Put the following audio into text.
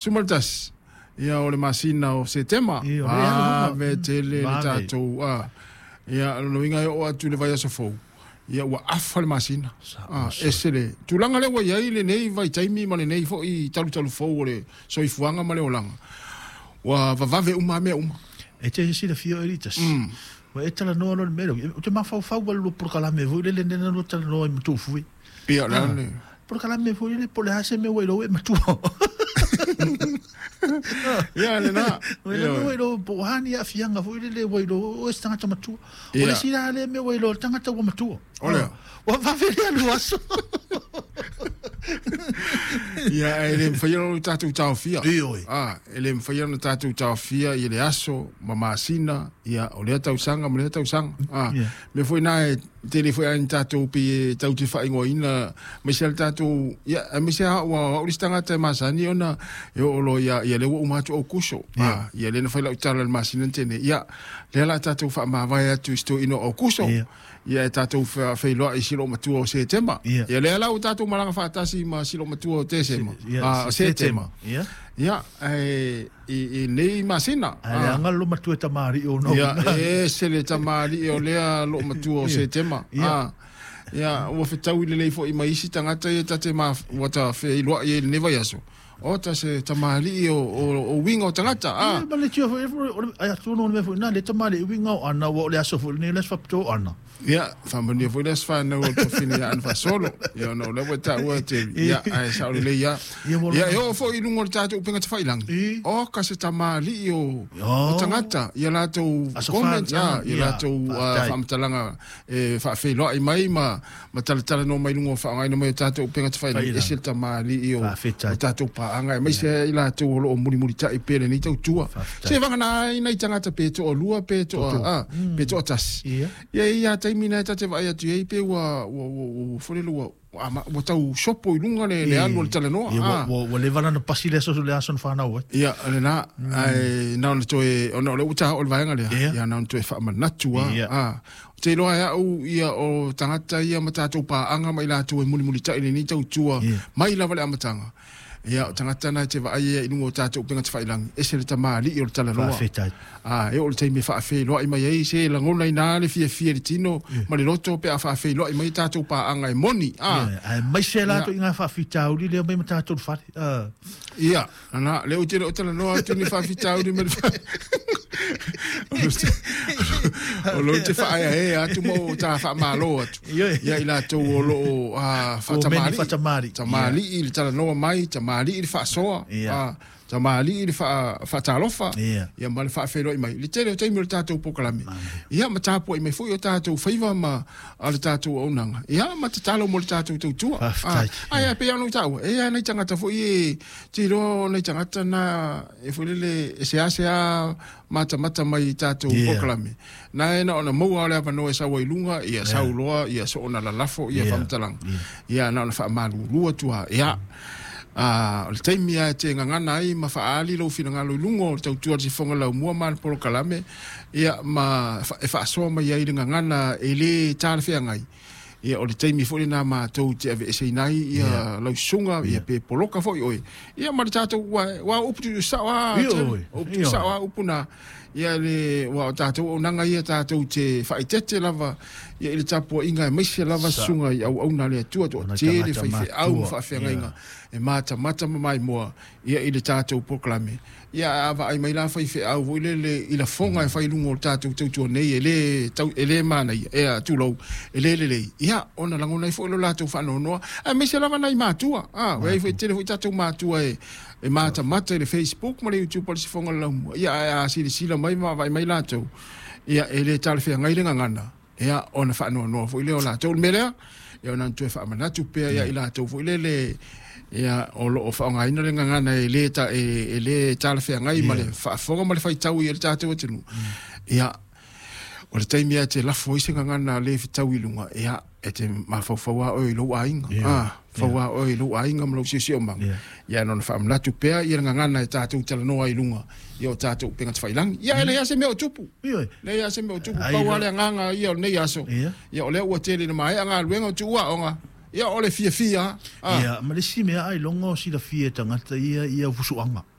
11, ia o le masina o Setema. Ia, o lea e alu luma. Vave tele le Vave. tatou, ia, o lona uiga e oo atu i le vaiaso fou, ia ua afa le masina. Ese le tulaga lea ua i ai lenei vaitaimi ma lenei foi talutalu fou o le soifuaga ma le olaga. Ua vavave uma lava mea uma. E te silafia oe Elitas, ua e talanoa loa i le mea lea, ou te mafaufau lava i le lua polokalame foi lele lea na lua talanoa ai ma Tuufui. Ia, o le a le. Polokalame foi lele po o le a se mea ua iloa e matua. Ia, lena. Ua iloa iloa po o a ni aafiaga foi lele ua iloa oe se tagata matua. O le isi la lea mea ua iloa le tagata ua matua. O lea. Ua vave le alu aso. Ia, e le mafai ona tatou taofia. Ioe. E le mafai ona tatou taofia i le aso ma masina, ia, o lea tausaga ma lea tausaga. Mea foi na e tele foi a ni tatou pei e tau te faaigoaina aemaise le tatou, ia, aemaise lava au au le isi tagata e masani ona e oo loa ia, ia lea ua uma atu Aukuso. Ia lea na fai lau tala i le masina na tea nei, ia, lea la tatou faamavae atu i se toeaina o Aukuso. Ia e tatou feiloai i si loomatua o Setema. Ia lea la ua tatou malaga faatasi ma si loomatua o Tesema. O Setema. Ia, e, i nei masina. Ae leaga le loomatua e tamalii o Ia, e ese le tamalii o lea loomatua o Setema. Ia, ua fetaui lelei foi ma isi tagata ia ta te ma, ua ta feiloai ai i lenei vaiaso. O ta se tamalii o uiga o tagata. Ia, ma le tio foi, ai atonu o le mea foi lena, le tamalii uiga o Ana, ua o le aso foi lenei, o le aso faapitoa o Ana. Ia, faamanuia foi le aso fanau o le tuafafine ia Ana Faasolo. Ia, ona o lea ua e taua e Terry. Ia, ae sao lelei lava. Ia, e oo foi i luga o le tatou upega tafailagi, oka se tamalii o tagata, ia latou comments, ia latou faamatalaga e faafeiloai mai ma talatalanoa mai i luga o faaaogaina mai o tatou upega tafailagi, ese le tamalii o tatou paaga, aemaise ai i latou o lo o mulimulitai pea i lenei tautua. Se vagana ai nai tagata pe toalua pe toa, pe toatasi. Ia e i ai lava taimi na e ta te vaai atu i ai pe ua ua ua ua foi lele ua ua tau sopo i luga le le alu o le talanoa. Ia ua ua leva la ona pasi le aso le aso na fanau ai. Ia lena ae na ona toe ona o lea ua ta oo i le vaega lea ia na ona toe faamanatu lava. Ou te iloa e au ia o tagata ia ma tatou paaga ma i latou e mulimulitai i lenei tautua mai lava i le amataga. Ia, o tagata na e te vaai ai i luga o tatou upega tafailagi, ese le tamalii o le talanoa. Faafetai. A, e oo i le taimi e faafeiloai mai ai, se lagona ina le fiafia i le tino ma le loto pe a faafeiloai mai tatou paaga e moni. A. Ia, aemaise latou i ngā faafitauli lea mai ma tatou le fale. A. Ia, ana, lea ou te le o talanoa atu ni faafitauli ma le fale. O lo te faaeaea atu ma o ta faamalo atu. Ia i latou o lo o faatamali'i, tamalii i le talanoa mai, tamalii i le faasoa, tamalii i le faatalofa, ia ma le faafeiloai mai. I le tele o taimi o le tatou polokalame, ia ma tapuai mai foi o tatou faiva ma le tatou auaunaga, ia ma tatalo mo le tatou tautua. Ae pei lava ona ou taua, e i ai nai tagata foi e te iloa o nai tagata na e foi lele e seasea matamata mai i tatou polokalame. Na e na ona maua o le avanoa e sau ai i luga, ia sau loa, ia soona lalafo, ia faamatalaga. Ia na ona faamalulu atu lava. Ia, o le taimi lava e te gagana ai ma faaali lou finagalo i luga o le tautua a le Sifoga Laumua ma le polokalame, ia, ma e faasoa mai ai le gagana e le talafeagai. Ia, o le taimi foi lena matou te aveeseina ai ia lau susuga, ia pe poloka foi oe. Ia ma le tatou, aua o upu tuusao lava, o upu tuusao lava upu na. Ia le, aua o tatou auaunaga ia tatou te faaeteete lava ia i le tapuaiga aemaise lava susuga i auauna a le Atua, toatele faifeau ma faafeagaiga e matamata ma maimoa ia i le tatou polokalame. Ia a vaai mai la faifeau foi lele i lafoga e fai i luga o le tatou tautua nei e le tau, e le manaia, ea, tulou, e le lelei, ia ona lagona ai foi lo latou faanoanoa, aemaise lava nai matua. A, ua i ai foi, tele foi tatou matua e e matamata i le Facebook ma le YouTube a le Sifoga o le Laumua, ia ae a silasila mai ma vaavaai mai latou, ia e le talafeagai le gagana, ia ona faanoanoa foi lea o latou. O le mea lea, ia ona toe faamanatu pea ia i latou foi lele, ia o lo o faaaogaina le gagana e le, ta, e le talafeagai ma le faafofoga ma le faitau i le tatou atunuu. Ia, o le taimi lava e te lafo ai se gagana le fetaui i luga, ia, e te mafaufau lava oe i lou aiga, fau lava oe i lou aiga ma lou siosiomaga. Ia, na ona faamanatu pea ia le gagana e tatou talanoa ai i luga ia o tatou upega tafailagi. Ia, e leai lava se mea o tupu. Leai lava se mea o tupu. Pau lava le agaga ia o lenei aso. Ia, o lea ua tele ina maea galuega o tuuaoga. Ia o le fiafia. Ia, ma le isi mea ailoga o silafia e tagata ia fusuaga.